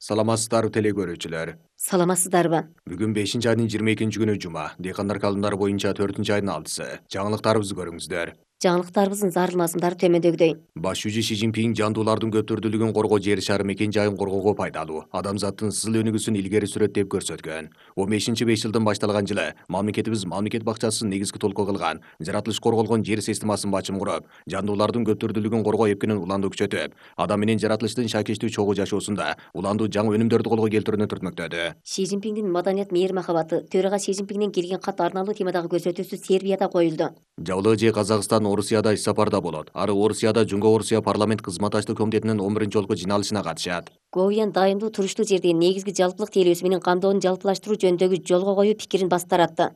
Саламатсыздарбы теле көрүүчүлөр. Саламатсыздарбы? Бүгүн 5-айдын 22-күнү жума. Дыйкандар калымдары боюнча 4-айдын 6-сы. Жаңылыктарыбызды көрүңүздөр. Жаңылыктарыбыздын зарыл мазмундары төмөндөгүдөй. Баш жүзү Си Цзиньпин жандуулардын көптүрдүүлүгүн коргоо жер шары мекен жайын коргоого пайдалуу, адамзаттын сызыл өнүгүүсүн илгери сүрөт деп көрсөткөн. 15-5 жылдан башталган жылы мамлекетибиз мамлекет бакчасын негизги толку кылган, жаратылыш корголгон жер системасын бачым куруп, жандуулардын көптүрдүүлүгүн коргоо эпкинин уланды күчөтүп, адам менен жаратылыштын шакештүү чогуу жашоосунда уландуу жаңы өнүмдөрдү колго келтирүүнү түртмөктөдү. Си Цзиньпиндин маданият мээр махабаты төрага Си Цзиньпинден келген кат арналуу темадагы көрсөтүүсү Сербияда коюлду. Жабылы же Казакстан Орусияда иш сапарда болот. Ары Орусияда Жунго Орусия парламент кызматташтык комитетинин 11 жолку жыйналышына катышат. Говиян дайымдуу туруштуу жердеги негизги жалпылык тейлөөсү менен камдоону жалпылаштыруу жөнүндөгү жолго коюу пикирин баш таратты.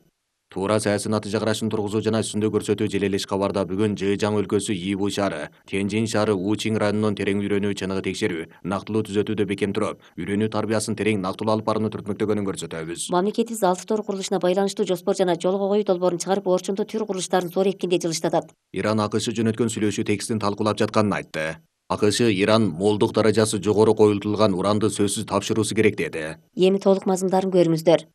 Туура саясий натыйжа карашын тургузуу жана үстүндө көрсөтүү желелеш кабарда бүгүн Жыжаң өлкөсү Ийбу шаары, Тяньжин шаары Учинг районунун терең үйрөнүү чыныгы текшерүү, нактылуу түзөтүүдө бекем туруп, үйрөнүү тарбиясын терең нактылуу алып барууну түртмөктөгөнүн көрсөтөбүз. Мамлекетибиз 6 тор курулушуна байланыштуу жоспор жана жолго коюу долбоорун чыгарып, орчундуу төр курулуштарын зор эпкинде жылыштатат. Иран АКШ жөнөткөн сүйлөшүү текстин талкуулап жатканын айтты. АКШ Иран молдук даражасы жогору коюлтулган уранды сөзсүз тапшыруусу керек деди. Эми толук мазмундарын көрүңүздөр.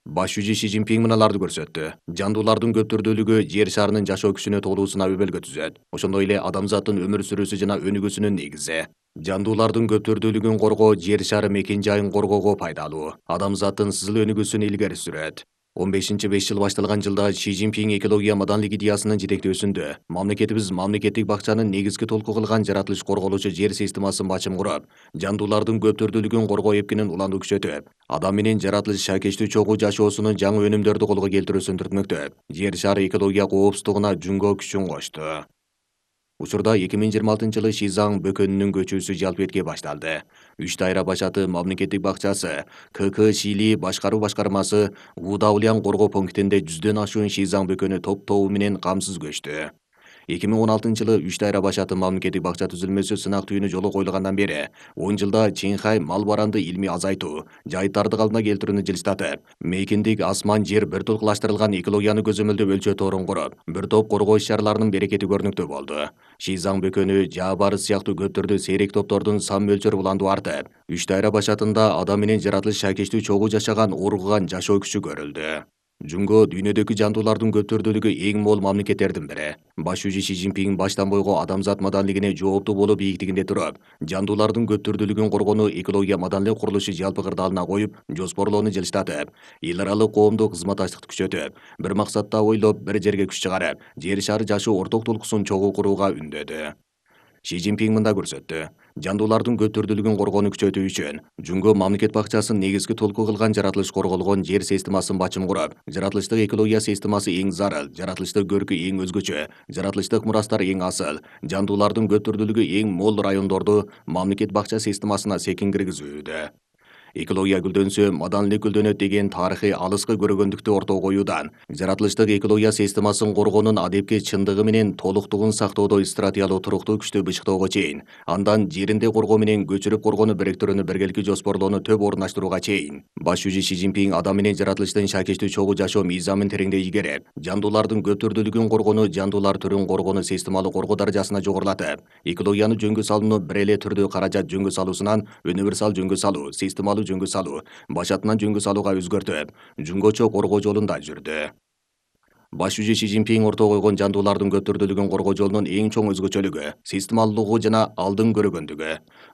Баш жүзү Си Цзиньпин мыналарды көрсөттү. Жандуулардын көптүрдүүлүгү жер шарынын жашоо күчүнө толуусуна өбөлгө түзөт. Ошондой эле адамзаттын өмүр сүрүүсү жана өнүгүүсүнүн негизи. Жандуулардын көптүрдүүлүгүн коргоо жер шары мекен жайын коргоого пайдалуу, адамзаттын сызыл өнүгүүсүн илгери сүрөт. 15-5 жыл башталган жылда Си Цзиньпин экология маданлык идеясынын жетектөөсүндө мамлекетибиз мамлекеттик бакчанын негизги толку кылган жаратылыш корголуучу жер системасын бачым куруп, жандуулардын көптүрдүүлүгүн коргоо эпкинин уланды күчөтүп, адам менен жаратылыш шакештүү чогуу жашоосунун жаңы өнүмдөрдү колго келтирүүсүн түртмөктөп, жер шары экология коопсуздугуна жүнгө күчүн кошту. Учурда 2026-жылы Шизаң бөкөнүнүн көчүүсү жалпетке башталды. 3 дайра башаты мамлекеттик бакчасы, КК Шили башкаруу башкармасы Удаулян коргоо пунктинде 100дөн ашуун Шизаң бөкөнү топ-тобу менен камсыз көчтү. 2016-жылы 3 дайра башаты мамлекеттик бакча түзүлмөсү сынак түйүнү жолу коюлгандан бери 10 жылда Чинхай мал баранды илмий азайтуу, жайыттарды калпына келтирүүнү жылыштатып, мейкиндик асман жер бир толкулаштырылган экологияны көзөмөлдөп өлчөт орун куруп, бир топ коргоо иш-чараларынын берекети көрүнүктүү болду. Шизаң бөкөнү, Жаабарыс сыяктуу көптөрдү сейрек топтордун сан мөлчөрү уланду артып, 3 дайра башатында адам менен жаратылыш шакештүү чогуу жашаган ургуган жашоо күчү көрүлдү. Жүнгө дүйнөдөгү жандуулардын көптүрдүүлүгү эң мол мамлекеттердин бири. Баш жүзү Си Цзиньпин баштан бойго адамзат маданлыгине жооптуу болуу бийиктигинде туруп, жандуулардын көптүрдүүлүгүн коргоону экология маданлык курулушу жалпы кырдаалына коюп, жоспорлоону жылыштатып, эл аралык коомдук кызматташтыкты күчөтүп, бир максатта ойлоп, бир жерге күч чыгарып, жер шары жашоо орток толкусун чогуу курууга үндөдү. Си Цзиньпин мында көрсөттү. Жандуулардын көптүрдүүлүгүн коргоону күчөтүү үчүн Жүнгө мамлекет бакчасын негизги толку кылган жаратылыш корголгон жер системасын бачым куруп, жаратылыштык экология системасы эң зарыл, жаратылыштык көркү эң өзгөчө, жаратылыштык мурастар эң асыл, жандуулардын көптүрдүүлүгү эң мол райондорду мамлекет бакча системасына секин киргизүүдө. Экология гүлдөнсө, маданлык гүлдөнөт деген тарыхый алыскы көргөндүктү ортого коюудан, жаратылыштык экология системасын коргоонун адепки чындыгы менен толуктугун сактоодо стратегиялуу туруктуу күчтү бычыктоого чейин, андан жеринде коргоо менен көчүрүп коргоону бириктирүүнү биргеликти жоспорлоону төп орундаштырууга чейин. Баш жүзү Си Цзиньпин адам менен жаратылыштын шакештүү чогуу жашоо мыйзамын тереңдей игереп, жандуулардын көптүрдүүлүгүн коргоону жандуулар түрүн коргоону системалуу коргоо даражасына жогорулатып, экологияны жөнгө салууну бир эле түрдүү каражат жөнгө салуусунан универсал жөнгө салуу, системалуу жөнгө салуу, башатынан жөнгө салууга өзгөртүп, жүнгөчө коргоо жолунда жүрдү. Баш жүзү Си Цзиньпин ортого койгон жандуулардын көптүрдүүлүгүн коргоо жолунун эң чоң өзгөчөлүгү системалуулугу жана алдын көргөндүгү.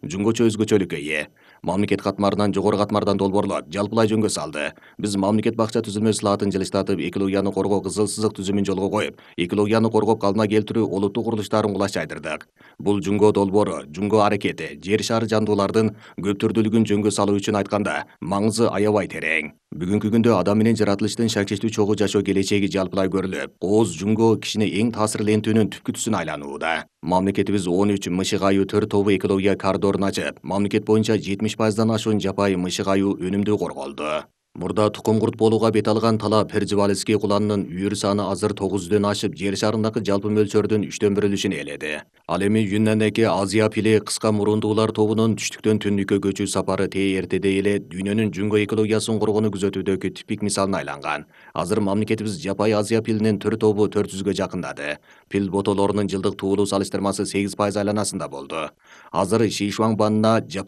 Жүнгөчө өзгөчөлүккө ээ. Мамлекет катмарынан жогору катмардан долбоорлоп, жалпылай жөнгө салды. Биз мамлекет бакча түзүлмөсү лаатын жылыштатып, экологияны коргоо кызыл сызык түзүмүн жолго коюп, экологияны коргоп калпына келтирүү олуттуу курулуштарын кулаш жайдырдык. Бул жүнгө долбоору, жүнгө аракети, жер шары жандуулардын көптүрдүүлүгүн жөнгө салуу үчүн айтканда маңызы аябай терең. Бүгүнкү күндө адам менен жаратылыштын шакештүү чогуу жашоо келечеги жалпылай көрүлүп, кооз жүнгө кишини эң таасирлентүүнүн түпкү түсүн айланууда. Мамлекетибиз 13 мышык аюу төр тобу экология коридорун ачып, мамлекет боюнча 70%дан ашуун жапайы мышык аюу өнүмдүү корголду. Мурда тукум курт болууга бет алган талап Перживальский куланынын үйүр саны азыр 900дөн ашып, жер шарындагы жалпы мөлчөрдүн 1/3-үн ээледи. Ал эми Юннандагы Азия пили кыска мурундуулар тобунун түштүктөн түндүккө көчүү сапары эртедей эле дүйнөнүн жүнгө экологиясын коргоону күзөтүүдөгү типик мисалына айланган. Азыр мамлекетибиз жапайы Азия пилинин төр тобу 400гө жакындады. Пил ботолорунун жылдык туулуу салыштырмасы 8% айланасында болду. Азыр Шишуаңбанна жапайы